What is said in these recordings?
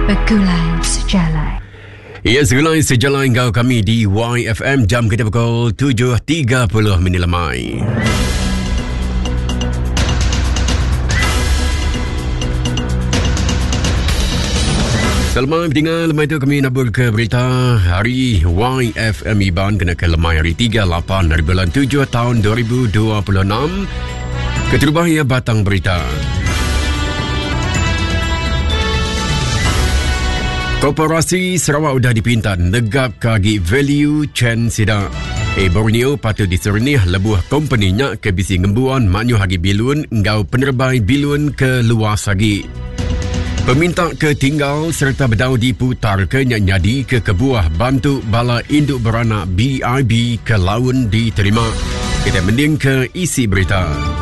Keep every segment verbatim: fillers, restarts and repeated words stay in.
Begulai Sejalai. Ya, segulai sejalai enggau kami di Y F M jam kita pukul tujuh tiga puluh minit lemai. Selamat mendengar lemai tu kami nabur ke berita hari Y F M Iban kena ke lemai hari tiga lapan dari bulan tujuh tahun dua ribu dua puluh enam. Keterubah ia batang berita. Koperasi Sarawak sudah dipinta negap kagi value chain sidak. E Borneo patut disernih lebuh kompeninya ke bisi ngembuan maknyuh hagi bilun ngau penerbai bilun ke luas lagi. Peminta ke tinggal serta bedau diputar ke nyak nyadi ke kebuah bantu bala induk beranak B I B ke laun diterima. Kita mending ke isi berita.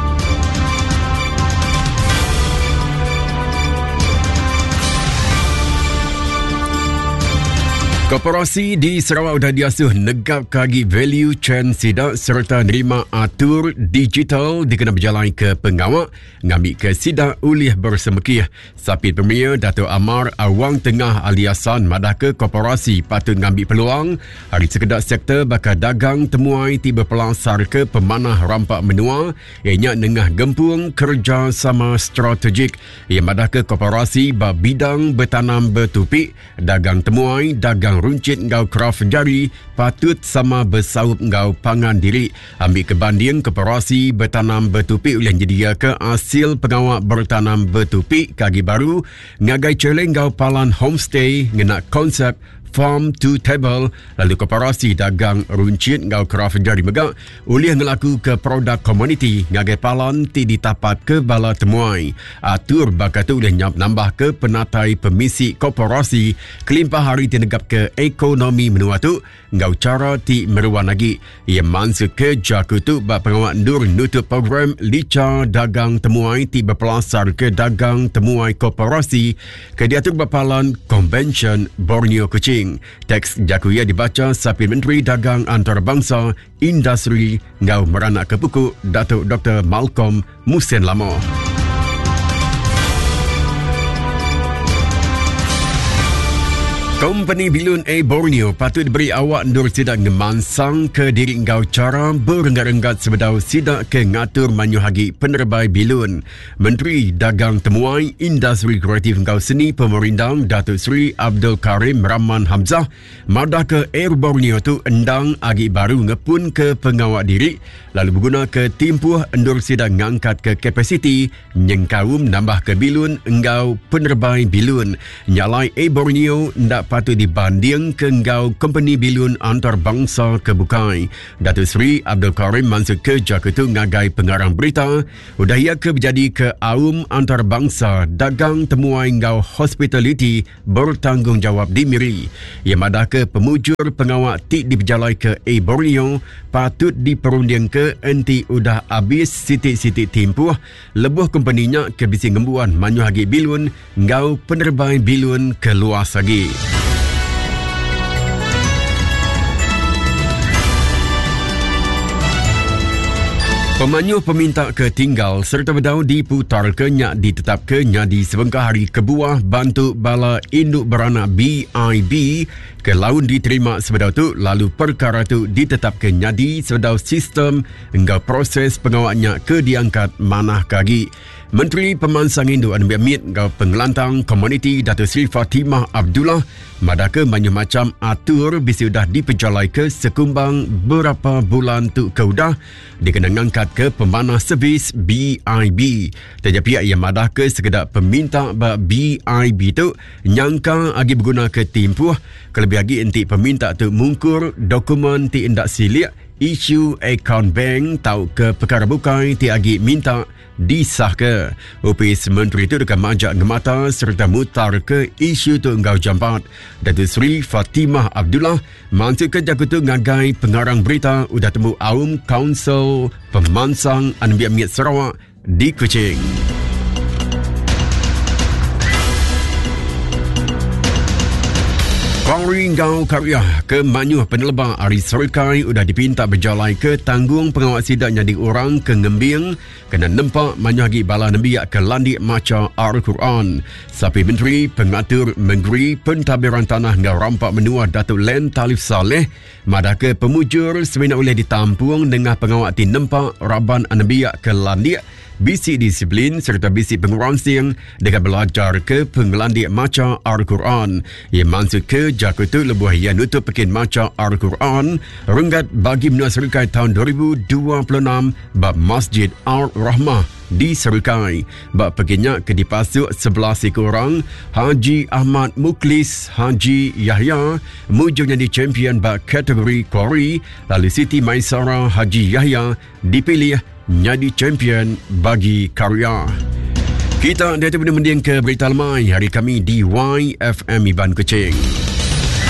Koperasi di Sarawak sudah diasuh negap kagi value chain sidak serta nerima atur digital dikena berjalan ke pengawak ngambil ke sidak ulih bersemekih. Sapit Premier Dato' Amar Awang Tengah Aliasan madah ke koperasi patut ngambil peluang hari sekedak sektor bakal dagang temuai ti berpelasar ke pemanah rampak menua ianya nengah gempung kerjasama strategik. Ia madah ke koperasi ba bidang bertanam bertupik, dagang temuai, dagang runcit ngau kraf jari patut sama bersaup ngau pangan diri. Ambil kebanding koperasi bertanam bertupik oleh nyedia ke hasil pengawak bertanam bertupik kagi baru ngagai celeng ngau palan homestay ngena konsep farm to table, lalu koperasi dagang runcit ngau kraf jari megak ulih ngelaku ke produk komuniti ngagai palan ti ditapat ke bala temuai. Atur bakal tu ulih nyap nambah ke penatai pemisi koperasi kelimpah hari ti negap ke ekonomi menua tu ngau cara ti meruan lagi. Ia mansuk ke jaku tu bak pengawak ndur nutup program lica dagang temuai ti berpelasar ke dagang temuai koperasi ke diatur berpalan Convention Borneo Kuching. Teks jaku ia dibaca Sapit Menteri Dagang Antarabangsa Industri ngau meranak ke puku Datuk Doktor Malcolm Mussen Lamoh. Kompeni Bilun Air Borneo patut diberi awak ndur sidak ngemansang ke diri ngau cara berenggat-renggat sebedau sidak ke ngatur manyuh hagi penerbai bilun. Menteri Dagang Temuai Industri Kreatif ngau Seni Pemerindang Datuk Seri Abdul Karim Rahman Hamzah madah ke Air Borneo tu endang agi baru ngepun ke pengawak diri lalu berguna ke timpuh endur sidak ngangkat ke kapasiti nyengkaum nambah ke bilun engau penerbai bilun. Nyalai Air Borneo ndak patut dibanding ke engau kompeni bilun antarabangsa ke bukai. Datuk Seri Abdul Karim masuk ke Jakarta ngagai pengarang berita udah ia ke berjadi ke aum antarabangsa dagang temuai engau hospitality bertanggungjawab di Miri. Ia madah ke pemujur pengawak ti diberjalai ke Air Borneo patut diperunding ke enti udah habis sitik-sitik timpuh lebuh kompeninya ke bisi ngembuan manyuh agi bilun ngau penerbai bilun ke luas lagi. Pemanyuh peminta ke tinggal serta bedau diputar ke nyak ditetap ke nyadi sebengkah hari kebuah bantu bala induk beranak B I B ke laun diterima sebedau tu lalu perkara tu ditetap ke nyadi sebedau sistem engkau proses pengawaknya ke diangkat manah kagi. Menteri Pemansang Induk Anubiak Mit ngau Pengelantang Komuniti Datuk Seri Fatimah Abdullah madah ke banyak macam atur bisi udah dipejalai ke sekumbang berapa bulan tu ke udah dikena ngangkat ke pemanah servis B I B. Tetapi pihak yang madah ke sekedar peminta ba B I B tu nyangka agi berguna ke timpuh kelebih agi enti peminta tu mungkur dokumen ti endak silik isu akaun bank tau ke perkara bukai ti agi minta disah ke. Opis Menteri itu dekat majak ngemata serta mutar ke isu tu enggau jampat. Datuk Seri Fatimah Abdullah mansuk ke jaku tu ngagai pengarang berita udah temu Aum Council Pemansang Anubiak Mit Sarawak di Kuching. Kori enggau karya ke manyuh peneleba ari Serikai udah dipinta berjalai ke tanggung pengawa sida nyadi orang ke ngembing kena nempa manyuh agi bala nembiak ke landik macha Al-Quran. Sapi Menteri Pengatur Negeri Pentadbiran Tanah enggau Rampa Menua Datuk Len Talif Salleh madah ke pemujur semina boleh ditampung dengan pengawa ti nempa raban nembiak ke landik bisi disiplin serta bisi penguransing dengan belajar ke pengelandik maca Al-Quran. Ia maksud ke jaku tu lebuh ia nutup pekin maca Al-Quran renggat bagi menua Serikai tahun dua ribu dua puluh enam bab Masjid Ar-Rahmah di Serikai. Bab pekinnya ke dipasuk sebelas ekor orang, Haji Ahmad Muklis Haji Yahya mujur jadi champion bab kategori Kori, lalu Siti Maisara Haji Yahya dipilih jadi champion bagi karya. Kita dia tu mending ke berita lemai hari kami di Y F M Iban Kuching.